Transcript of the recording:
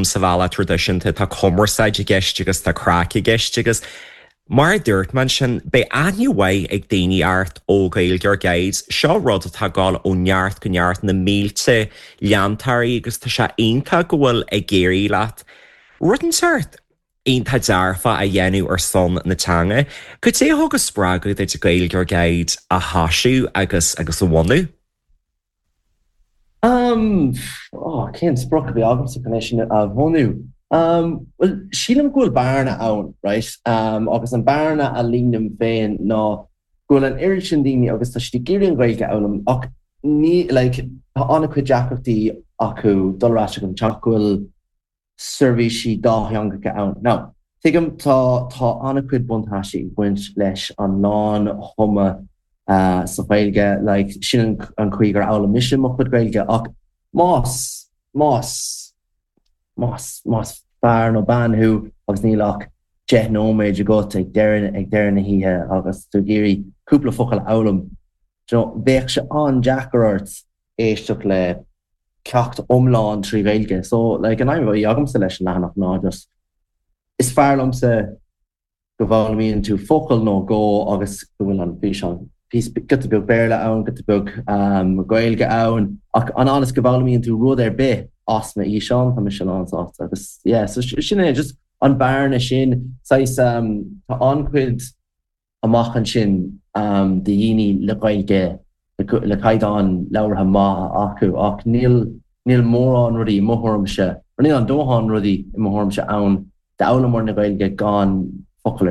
Sa bhealach traidisiúnta tá cumarsáid i gceist agus tá craic i gceist agus mar a dúirt mé ansin, beidh aithne mhaith ag daoine ort ó Gaeilgeoir Guides. Seo rud atá ag dul ó neart go neart, na mílte leantóirí agus tá sé iontach go bhfuil ag éirí leat rud inteacht iontach dearfach a dhéanamh ar son na teanga. Cad é a thug an spreagadh duit Gaeilgeoir Guide a thosú agus agus a bhunú? Um, oh, cén sprioc a bhí agamsa chun é sin a bhunú? Um, well, sílim go bhfuil bearna ann, right? Um, agus an bearna a líonaim féin ná go bhfuil an oiread sin daoine agus tá siad ag iarraidh an Ghaeilge a fhoghlaim ach ní, like, tá an-chuid deacrachtaí acu dul ar ais ag an teach go bhfuil seirbhísí dátheangacha ann. Now, tuigim, tá, tá an-chuid buntáistí ag baint leis an lán-thumadh sa Ghaeilge, like, sin an chaoi gur fhoghlaim mise mo chuid Gaeilge, ach más, más, más, más fear nó bean thú agus níl ach 10 nóiméad agat ag deireadh, ag deireadh na hoíche agus tú ag iarraidh cúpla focal a fhoghlaim, do you know, bheadh sé an-deacair ort éisteacht le ceacht iomlán trí Ghaeilge. So, like, an aidhm a bhí agamsa leis an leathanach ná just, is fearr liomsa go bhfoghlaimíonn tú focal nó dhó agus go bhfuil an físeán, giota beag Béarla ann, giota beag Gaeilge ann, ach an fhad is go bhfoghlaimíonn tú rud ar bith as mo fhíseán, tá mise lánsásta. Agus, yeah, so sin é, just an bearna sin, saghas, tá an-chuid amach ansin do dhaoine le Gaeilge le caighdeán labhartha maith acu ach níl níl mórán rudaí i mo thuairimse, nó níl an dóthain rudaí i mo thuairimse ann d'fhoghlaimeoir na Gaeilge gan focal ar.